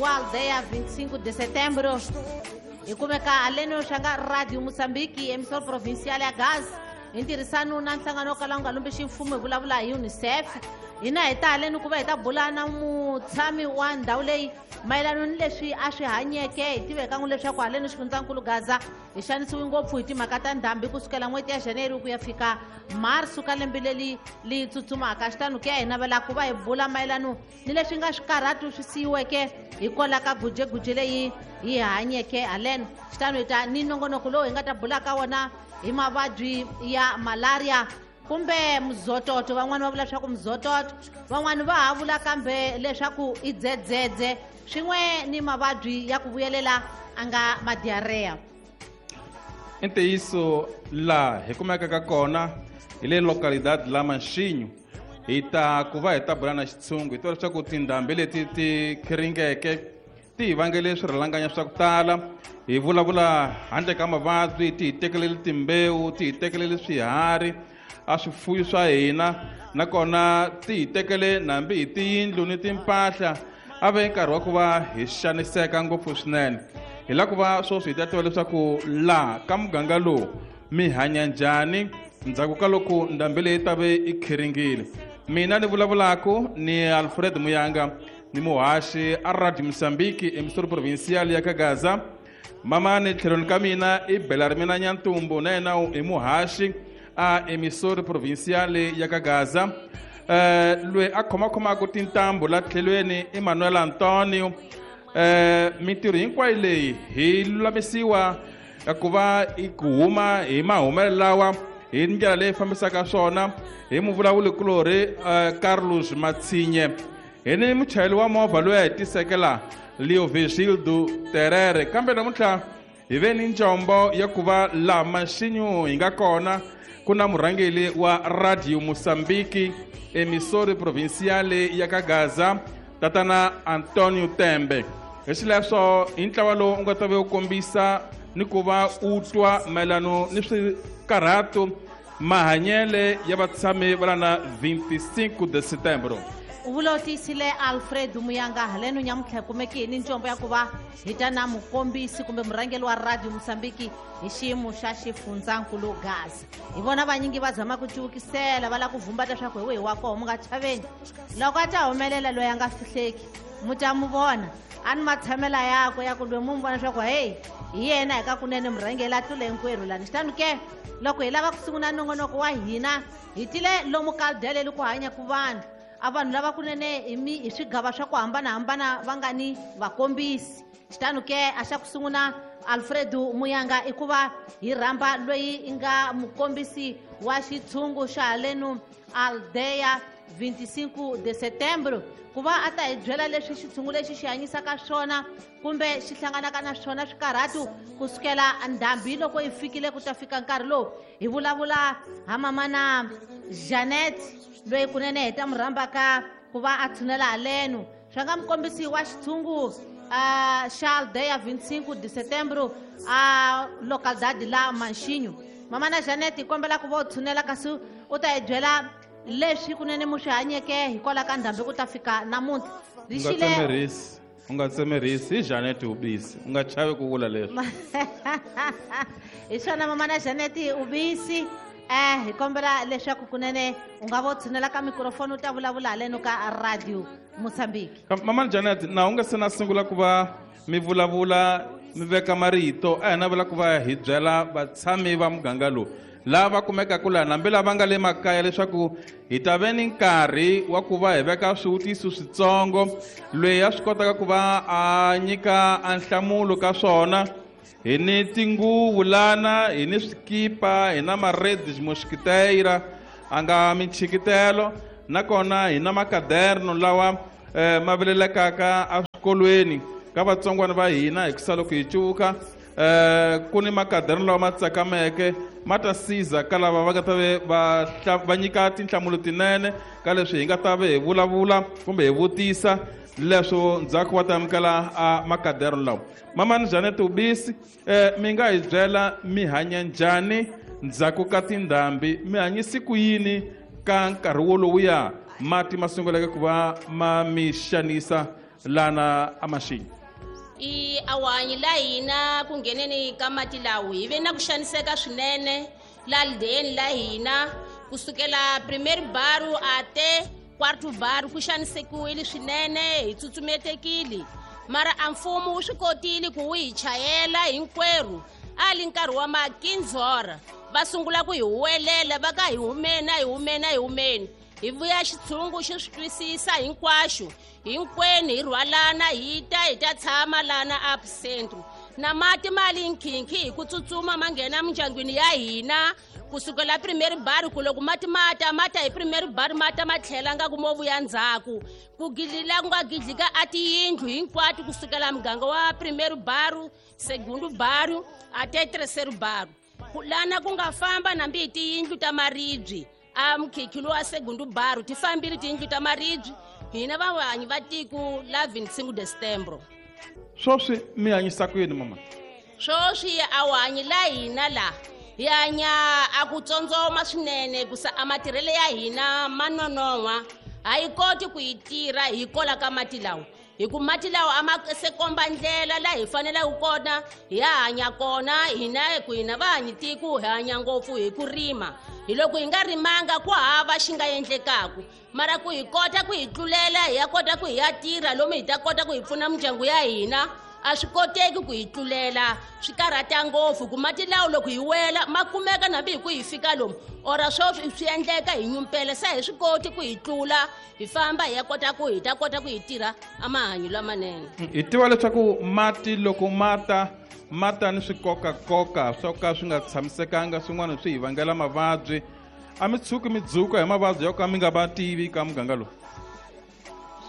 wa Aldeia 25 de Setembro. Hi kumeka haleni swa nga Radio Mozambique, emissora provincial ya Gaza, hi ntirhisano na nhlangano wo kala wu nga lumbi ximfumo, hi vulavula hi UNICEF. Hina hi ta haleni ku va hi ta bula na mutshami wa ndhawu leyi mayelana ni leswi a swi hanyeke. Hi tiveka n'wi leswaku haleni xifundzankulu Gaza hi xanisiwe ngopfu hi timhaka ta ndhambi kusukela n'hweti ya January ku ya fika Marso ka lembe leri li tsutsumaka. Xitano ke hi navela ku va hi bula mayelana ni leswi nga swikarhatu swi siyiweke hikwalaho ka gujeguje leyi hi hanyeke haleno. Xitano hi ta ni nongonoko lowu hi nga ta bula ka wona hi mavabyi ya malaria kumbe mzototo. Van'wani va vula leswaku mzototo, van'wani va ha vula kambe leswaku i dzedzedze, swin'we ni mavabyi ya ku vuyelela a nga madiareya. I ntiyiso, laha hi kumekaka kona hi le localidad la Manxinho. Hi ta ku va hi ta bula na xitshungu, hi tiva leswaku tindhambi leti ti khiringeke ti hi vangele swirhalanganya swa ku tala. Hi vulavula handle ka mavabyi, ti hi tekelele timbewu, ti hi tekelele swiharhi a swifuyo swa hina, nakona ti hi tekele nambi hi tiyindlu ni timpahla. A ve nkarhi wa ku va hi xaniseka ngopfu swinene. Hi lava ku va sweswi hi ta tiva leswaku laha ka muganga lowu mi hanya njhani ndzhaku ka loko ndhambi leyi ta ve i khiringile. Mina ni vulavulaka ni Alfred Muyanga, ni muhaxi a Radio Mozambique, emissora provincial ya ka Gaza. Mamani tlhelweni ka mina i Belarmina Nyantumbu, na yena i muhaxi a emissora provincial ya ka Gaza. Loyi a khomakhomaka tintambu la tlhelweni i Manuel Antonio. Mintirho hinkwayo leyi hi lulamisiwa ku va ku huma hi mahumelo lawa hi ndlela leyi fambisaka swona hi muvulavulikulorhi Carlos Matsinye, hi ni muchayeri wa movha loyi a hi tiseke laha, Leo Vigildo Terere. Kambe namuntlha hi ve ni njombo ya ku va laha Manxinho hi nga kona ku na murhangeri wa Radio Mozambique, emissora provincial ya ka Gaza, tatana Antonio Tembe. Hi xileswo hi ntlawa lowu u nga ta ve u kombisa ni ku va u twa mayelano ni swikarhato mahanyele ya vatshami va lana 25 de Setembro. U vula u tiyisile Alfred Muyanga. Haleno nyamuntlha hi kumeke hi ni ncombo ya ku va hi ta na mukombisi kumbe murhangeri wa Radio Mozambique hi xiyimo xa xifundzankulu Gaza. Hi vona vanyingi va zama ku cuvukisela, va lava ku vhumbata leswaku hi wihi wa koho. Mu nga chaveni, loko a ta humelela loyi a nga fihleki mu ta mu vona, a ni matshamela yakwe ya ku loyi mu n'wi vona leswaku heyi hi yena hi ka kunene murhangeri a tlule hinkwerhu lani. Xitano ke loko hi lava ku sungula nongonoko wa hina, hi tile lomu ka aldeya ku hanyaka vanhu, a vanhu lava kunene hi swigava swa ku hambanahambana va nga ni vakombisi. Xitano ke a xa ku sungula Alfredo Muyanga i ku va hi rhamba loyi i nga mukombisi wa xitshungu xa halenu Aldeia 25 de Setembro, ku va a ta hi byela leswi xitshungu lexi xi hanyisaka swona kumbe xi hlanganaka na swona swikarhatu kusukela ndhambi loko yi fikile ku ta fika nkarhi lowu. Hi vulavula ha mamana Janet, loyi kunene hi ta mu rhambaka ku va a tshunela halenu swa nga mukombisi wa xitshungu xa Aldeia 25 de Setembro a localidade la Manxinho. Mamana Janet, hi kombela ku va u tshunela kasi u ta hi byela leswi kunene mu swi hanyeke hikwalaho ka ndhambi ku ta fika namuntlha. U nga tsemerisi, u nga tsemerisi, hi Janet Ubisi, u nga chavi ku vula leswi. Hi swona mamana Janet Ubisi, hi kombela leswaku kunene u nga vo tshunela ka mikrofoni u ta vulavula haleno ka Radio Mozambique. Mamana Janet, na u nga se na sungula ku va mi vulavula mi veka marito, a hi navela ku va hi byela vatshami va muganga lowu lava kumekaka laha nambi lava nga le makaya leswaku hi ta ve ni nkarhi wa ku va hi veka swivutiso switsongo loyi a swi kotaka ku va a nyika a nhlamulo ka swona. Hi ni tinguvu lana, hi ni swikipa, hi na maredi mosquiteira a nga minchikitelo, nakona hi na makaderno lawa ma vilelekaka eswikolweni ka vatsongwana va hina hi kusa loko hi cuvuka. Ku ni makaderno lawa ma tsakameke ma ta siza ka lava va nga ta ve va nyika tinhlamulo tinene ka leswi hi nga ta ve hi vulavula kumbe hi vutisa leswo ndzhaku va ta amukela a makaderno lawa. Mamani Janet Ubisi, mi nga hi byela mi hanya njhani ndzhaku ka tindhambi, mi hanyisi ku yini ka nkarhi wolowuya mati ma sunguleke ku va ma mi xanisa lana amaxini. I awanyi la hina ku ngheneni ka mati lawo hi ve na ku xaniseka swinene la lideni la hina kusukela primary baru ate quarto baru ku xanisekiwile swinene hi tsutsumetekile mara a mfumo wu swi kotile ku wu hi chayela hinkwerhu a li nkarhi wa makinzora va sungula ku hi huwelela va ka hi humeni a hi humeni a hi humeni hi vuya xitshungu xi swi twisisa hinkwaxo hinkwenu hi rhwalana hi ta hi ta tshama lana up centro na mati ma li nkhinkhi hi ku tsutsuma ma nghena mindyangwini ya hina kusukela primary bar ku loko mati ma ta ma ta hi primary bar ma ta ma tlhela nga ku mo vuya ndzhaku ku gidlila ku nga gidlika a tiyindlu hinkwato kusukela muganga wa primary bar segundo bar ate terceiro bar lana ku nga famba nambi hi tiyindlu ta maribye a mukhikhi lowa segundo bar ti fambile tiyindlu ta maribye hina vahanyi va tiko la 25 de setembro. Sweswi mi hanyisa ku yini mama? Sweswi a wu hanyi la hina la hi hanya a ku tsondzoma swinene kusa a matirhelo ya hina ma nonon'hwa a yi koti ku yi tirha hi kola ka mati lawa hi ku mati lawa a ma se komba ndlela laha hi faneleke kona hi ya hanya kona hina ku hina vahanyi tiko hi hanya ngopfu hi ku rima hi loko hi nga rimanga ku hava xi nga endlekaku mara ku hi kota ku hi tlulela hi ya kota ku hi ya tirha lomu hi ta kota ku hi pfuna mindyangu ya hina a swi koteki ku hi tlulela swi karhata ngopfu ku mati lawo loko hi wela ma kumeka nambi hi ku hi fika lomu ora swo swi endleka hi nyumpela se hi swi koti ku hi tlula hi famba hi ya kota ku hi ta kota ku hi tirha a mahanyo lamanene. Hi tiva leswaku mati loko mata mata ni swikokakoka swo ka swi nga tshamisekanga swin'wana swi hi vangela mavabyi a mi tshuki mi dzuka hi mavabyi yo ka mi nga va tivi ka muganga lowu.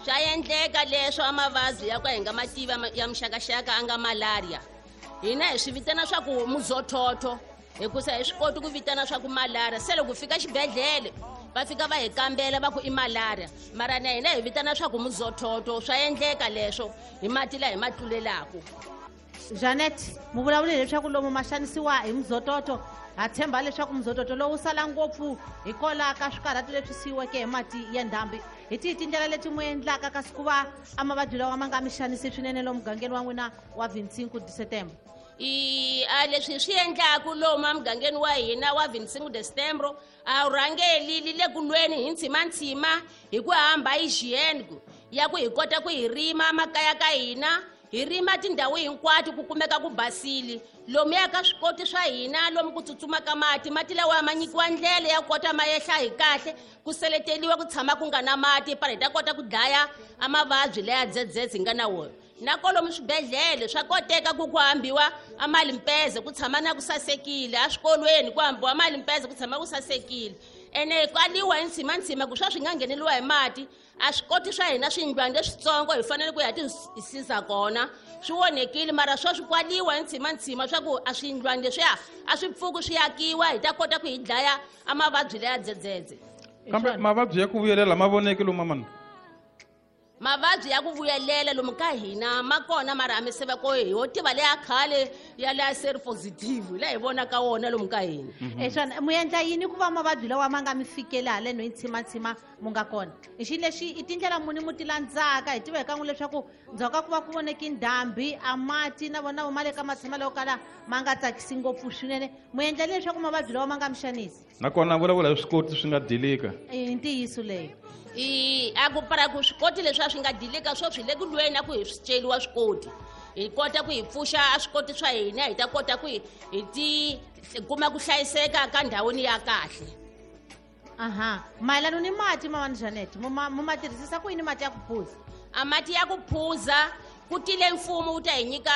Swa endleka leswo a mavabyi ya ku hi nga ma tivi ya muxakaxaka a nga malaria hina hi swi vitana swa ku muzothotho hikusa hi swi koti ku vitana swa ku malaria se loko fika xibedhlele va fika va hi kambela va ku i malaria mara na hina hi vitana swa ku muzothotho swa endleka leswo hi mati laha hi ma tlulelaku. Janet mu vulavule leswaku lomu ma xanisiwa hi muzototo ha tshemba leswaku muzototo lowu sala ngopfu hikwalaho ka swikarhato leswi siyiweke hi mati ya ndhambi. Hi tihi tindlela leti mu endlaka kasi ku va a mavabyi lawa ma nga mi xanisi swinene lomu mugangeni wa n'wina wa 25 de setembro? I a leswi swi endlaku lomu emugangeni wa hina wa 25 de setembro a wu rhangeli li le ku lweni hi ntshimanthsima hi ku hamba hygiene ya ku hi kota ku hi rima makaya ka hina hi rima tindhawu hinkwato ku kumeka ku basile lomuya ka swikoti swa hina lomu ku tsutsumaka mati mati lawa ma nyikiwa ndlela ya kota ma yehla hi kahle ku seleteliwa ku tshama ku nga na mati para hi ta kota ku dlaya a mavabyi laya dzedzedze hi nga na wona na kolomu swibedhlele swa koteka ku ku hambiwa a malimpeze ku tshama na ku sasekile eswikolweni ku hambiwa malimpeze ku tshama ku sasekile ene kwaliwa hi ntshimanthsima ku swa swi nga ngheneliwa hi mati a swikoti swa hina swindlwana leswitsongo hi fanele ku ya ti siza kona swi onhekile mara swo swi kwaliwa hi ntshimanthsima swa ku a swindlwana leswiya a swi pfuki swi akiwa hi ta kota ku hi dlaya a mavabyi leya dzedzedze. Kambe mavabyi ya ku vuyelela ma voneki lomu mamana? Mavabyi ya ku vuyelela lomu ka hina ma kona mara a mi se va ko hi ho tiva leya khale ya leya seri positive leyi hi vonaka wona lomu ka hina. Eswona mu endla yini ku va mavabyi lawa ma nga mi fikeli haleno hi ntshimanthsima mu nga kona? I xilo lexi i tindlela muni mu ti landzaka hi tiva hi kan'we leswaku ndzhaku ka ku va ku voneki ndhambi a mati na vona ma le ka matshamelo yo kala ma nga tsakisi ngopfu swinene mu endla leswaku mavabyi lawa ma nga mi xanisi? Nakona vulavula hi swikoti swi nga dilika. I ntiyiso leyo. I a ku para ku swikoti leswi a swi nga dilika swo swi le ku lweni a ku hi swi celiwa swikoti hi kota ku hi pfuxa a swikoti swa hina hi ta kota ku hi ti kuma ku hlayiseka ka ndhawini ya kahle. Aha mayelana ni mati mamani Janet mu ma tirhisisa ku yini mati ya ku phuza? A mati ya ku phuza ku tile mfumo wu ta hi nyika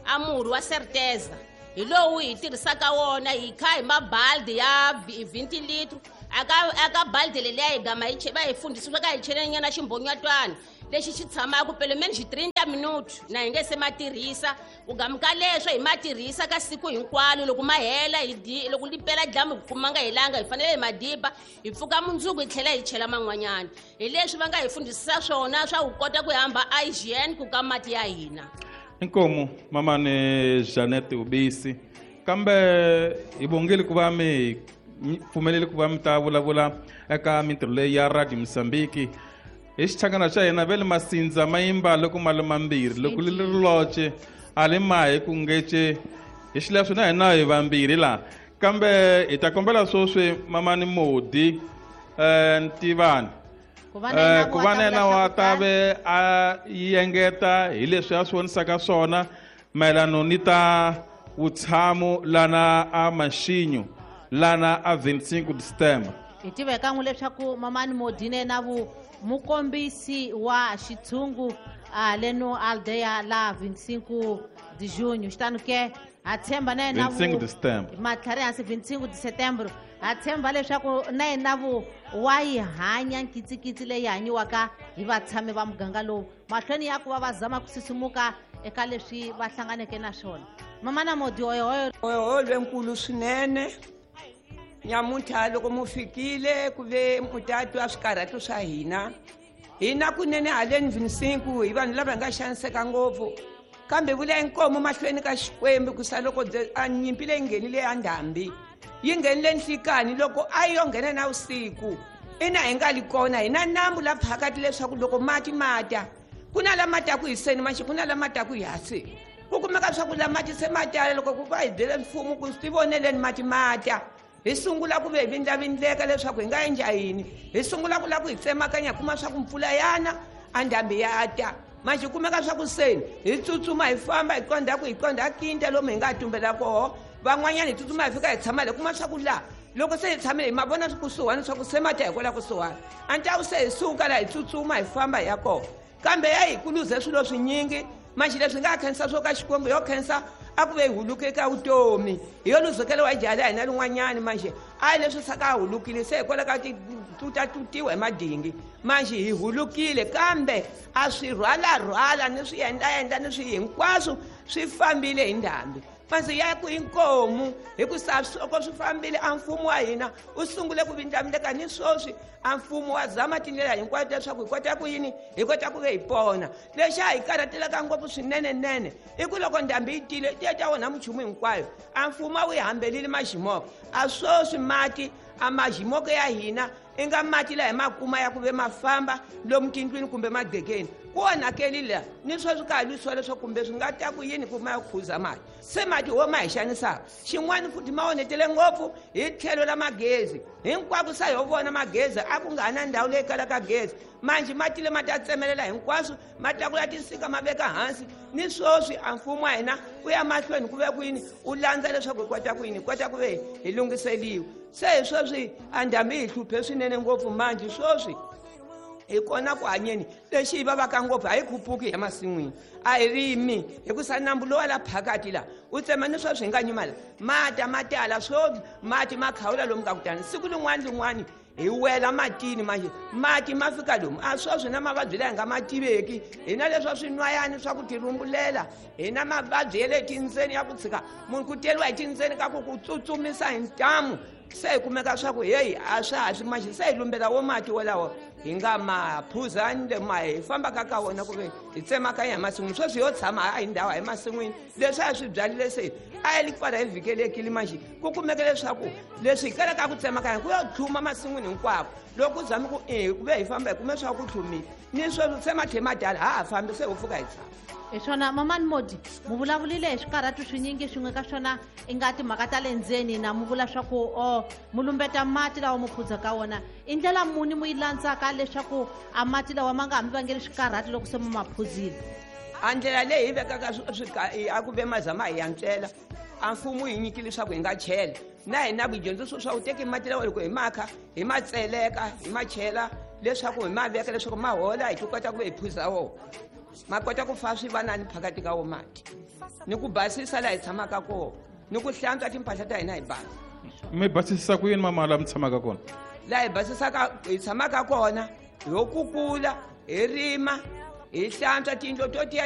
a murhi wa Certeza hi lowu hi tirhisaka wona hi kha hi mabaldi ya 20 litro aka baldi leliya hi gama hi va hi fundhisiwa ka hi chelenyana ximbhonyatwana lexi xi tshamaka pele meni xi 30 minuti na hi nge se ma tirhisa ku gamuka leswo hi ma tirhisa ka siku hinkwalo loko ma hela hi loko li pela dyambu hi kuma nga helanga hi fanele hi ma diba hi pfuka mundzuku hi tlhela hi chela man'wanyana hi leswi va nga hi fundhisisa swona swa ku kota ku hamba hygiene ku ka mati ya hina. Inkomu mamani Janet Ubisi kambe hi bongile ku va mi pfumeleli ku va mi ta vulavula eka mintirho leyi ya Radio Mozambique. Hi xichangana xa hina ve le masindza ma yimba loko ma le mambirhi loko li ri loce a li mahi ku ngece hi xileswo na hina hi vambirhi laha kambe hi ta kombela sweswi mamani Modi Ntivani ku va na yena wa ta ve a yengeta hi leswi a swi vonisaka swona mayelano ni ta vutshamo lana a Maxinyo lana a 25 December. Hi tiva kan'we leswaku mamani Modi na yena vu mukombisi wa xitshungu leno aldeia la 25 de junho xitano ke ha tshemba na yena 25 de setembro matlhari hansi 25 de setembro ha tshemba leswaku na yena vu wa yi hanya nkitsikitsi leyi hanyiwaka hi vatshami va muganga lowu mahlweni ya ku va va zama ku sisimuka eka leswi va hlanganeke na swona. Mamana Modi oyohoyo oyohoyo lwenkulu swinene nyamuntlha loko mu fikile ku ve mutatu a swikarhatu swa hina hina kunene haleni 25 hi vanhu lava nga xaniseka ngopfu kambe vula inkomo mahlweni ka Xikwembu ku sa loko a nyimpi leyi nghenile ya ndhambi yi nghenile nhlikani loko a yo nghena na vusiku ina hi nga li kona hina nambu la phakati leswaku loko mati mata ku na lama taku hi seni maxi ku na lama taku hi hasi ku kumeka swa ku la mati se ma tala loko ku va hi byele mfumo ku swi tivoneleni mati mata hi sungula ku ve hi vindlavindleka leswaku hi nga endla yini hi sungula ku lava ku hi tsemakanya hi kuma swa ku mpfula yana a ndhambi ya ta manjhe kumeka swa ku seni hi tsutsuma hi famba hi qondha ku hi qondha kinta lomu hi nga tumbela koho van'wanyana hi tsutsuma hi fika hi tshama le kuma swa ku laha loko se hi tshamile hi ma vona kusuhani swa ku se mata hi kwala kusuhani a ni ta ku se hi suka laha hi tsutsuma hi famba hi ya koho kambe ya hi kuluze swilo swinyingi manjhe leswi nga khensa swo ka Xikwembu yo khensa a ku ve hi huluke ka vutomi hi yo luzekela wa jala hina lin'wanyani manjhe a hi leswi saka a hulukile se hikwalaho ka tutatutiwa hi madingi manjhe hi hulukile kambe a swi rhwalarhwala ni swi endlaendla ni swi hinkwaswo swi fambile hi ndhambi manjhe ya ku inkomu hikusa loko swi fambile a mfumo wa hina u sungule ku vindlavindleka ni sweswi a mfumo wa zama tindlela hinkwato leswaku hi kota ku yini hi kota ku ve hi pona lexi a hi karhatelaka ngopfu swinenenene i ku loko ndhambi yi tile ti ya ta onha minchumu hinkwayo a mfumo a wu yi hambelile maximoko a sweswi mati a maximoko ya hina i nga mati laha hi ma kuma ya ku ve ma famba lomu tindlwini kumbe magqekeni ku onhakelile laha ni sweswi ka ha lwisiwa leswaku kumbe swi nga ta ku yini ku ma ya khuza mati se mati wo ma hi xanisaka xin'wana futhi ma onhetele ngopfu hi tlhelo la magezi hinkwako sa ho vona magezi a ku nga ha na ndhawu leyi kalaka gezi manjhe mati le ma ta tsemelela hinkwaswo ma tlakula tinsika ma veka hansi ni sweswi a mfumo wa hina u ya mahlweni ku ve ku yini u landza leswaku hi kota ku yini hi kota ku ve hi lunghiseliwa se hi sweswi a ndhambi hi hluphe swinene ngopfu manjhe sweswi hi kona ku hanyeni lexi hi vavaka ngopfu a hi khupuki hi masin'wini a hi rimi hikusa nambu lowa la phakati laha u tsema ni sweswi hi nga nyuma la mata ma tala swo mati ma khawula lomu ka kutani siku lin'wana lin'wani hi wela matini manjhe mati ma fika lomu a sweswi na mavabyi laha hi nga ma tiveki hina leswa swinwayani swa ku tirhumbulela hina mavabyi ya le tindzeni ya ku tshika munhu ku teriwa hi tindzeni ka ku ku tsutsumisa hi ntamu se hi kumeka swa ku heyi a swa ha swi manjhe se hi lumbela wo mati wolawo hi nga ma phuzani le ma hi fambaka ka wona ku ve hi tsemakanya hi masin'wini sweswi yo tshama a hi ndhawu hi masin'wini leswi a swi byalile se a yi li pfala hi vhikelekile manjhe ku kumeke leswaku leswi hi kalaka ku tsemakanya ku yo tlhuma masin'wini hinkwako loko ku zame ku e ku ve hi famba hi kume swa ku tlhumile ni sweswi se matlhe ma dala ha ha fambi se ho pfuka hi tshama. Hi swona mamani Modi mu vulavulile hi swikarhatu swinyingi swin'we ka swona i nga timhaka ta le ndzeni na mu vula swa ku o mu lumbeta mati lawa mu phuza ka wona i ndlela muni mu yi landzaka leswaku a mati lawa ma nga ha mi vangeli swikarhatu loko se mu ma phuzile? A ndlela leyi hi vekaka a ku ve mazama hi yantswela a mfumo yi nyikile leswaku hi nga chela na hina ku dyondzisiwa swa ku teki mati lawa loko hi makha hi ma tseleka hi ma chela leswaku hi ma veka leswaku ma hola hi ti kota ku ve hi phuza wona ma kota ku fa swi va nani phakati ka wo mati ni ku basisa laha hi tshamaka kona ni ku hlantswa timpahla ta hina hi basa. Mi basisisa ku yini mama laha mi tshamaka kona? Laha hi basisaka hi tshamaka kona ho kukula hi rima hi hlantswa tiyindlu to tiya.